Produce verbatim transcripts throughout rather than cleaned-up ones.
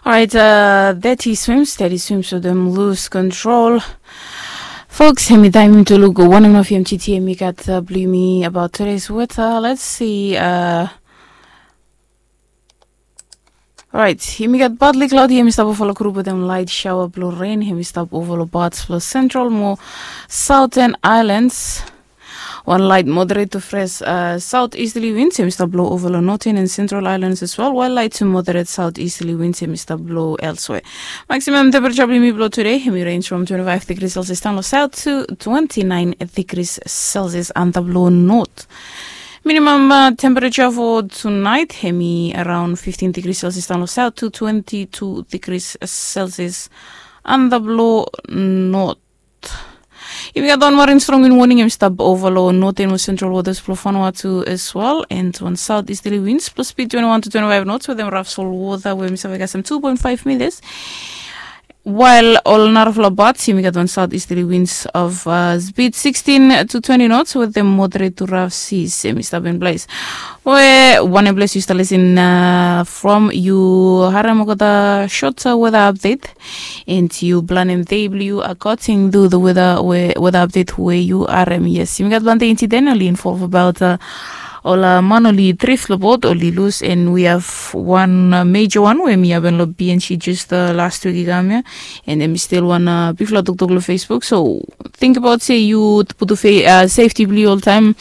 Orait, deti swims, deti swims wetem lus kontrol. Folks, hemi taem yumi tu luk wanem nao fiam titi hemi gat blu yumi abaot tudes weta. Let's see. Orait, yumi gat badli klaodi hemi stap ova long grup wetem laet saoa blo ren hemi stap ova long pats blo sentral mo saoten aelans. Wan laet moderet tu fres saot istali wins hemi stap blo ova long noten en sentral aelans as wel, wael laet tu moderet saot istali wins hemi stap blo elswe. Maksimam tempereja blo yumi blo tude hemi rens from twenti faef digri selsias daon long saot tu twenti naen digri selsias antap long not. Minimam tempereja fo tunaet hemi araon fiftin digri selsias daon long saot tu twenti tu digri selsias antap long not. Yumi gat wan marin strong win woning hemi stap ova long noten mo sentral wotas blo fanua tu as wel, en wan saot istali wins blo spid twenti wan tu twenti faef nots wetem raf sol wota we hemi save kasem tu poen faef mitas. Wael ol narafala pats yumi gat wan saot istali wins of spid sikstin tu twenti nots wetem moderet tu raf sis hemi stap in ples. We wanem ples yu stap lisin from, yu harem olgeta sot weta apdet, en yu planem dei blo yu akoding tu the weta we weta apdet we yu harem. Yes, yumi gat plante insident oli involv abaot ol man oli drif long bot oli lus, en we have wan meja wan we mi hapen long bnc just last wik i kam ya. En hemi stil wan bigfala toktok long facebook, so tingbaot se yu putum sefti blo yu oltaem.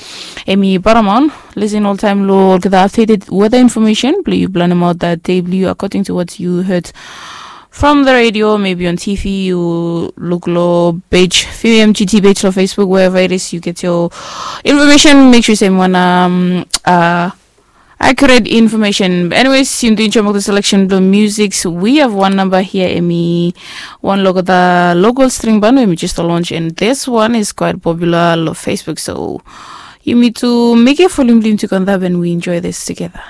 Hemi paramaon, lisin oltaem long olgeta apdeted weta infomesen blo yu planemaot dei blo yu akoding tu wat yu head from the radio, maybe on tv, yu luk long pej fimgt pej long facebook, wherever it is you get your information, make sure se wan accurate information. Anyways, yu tu enjoy mok the selection blo music. We have one number here, emi wan local, the local string band emi just launch, and this one is quite popular lo facebook, so yumi tu make a volume blim to conduct and we enjoy this together.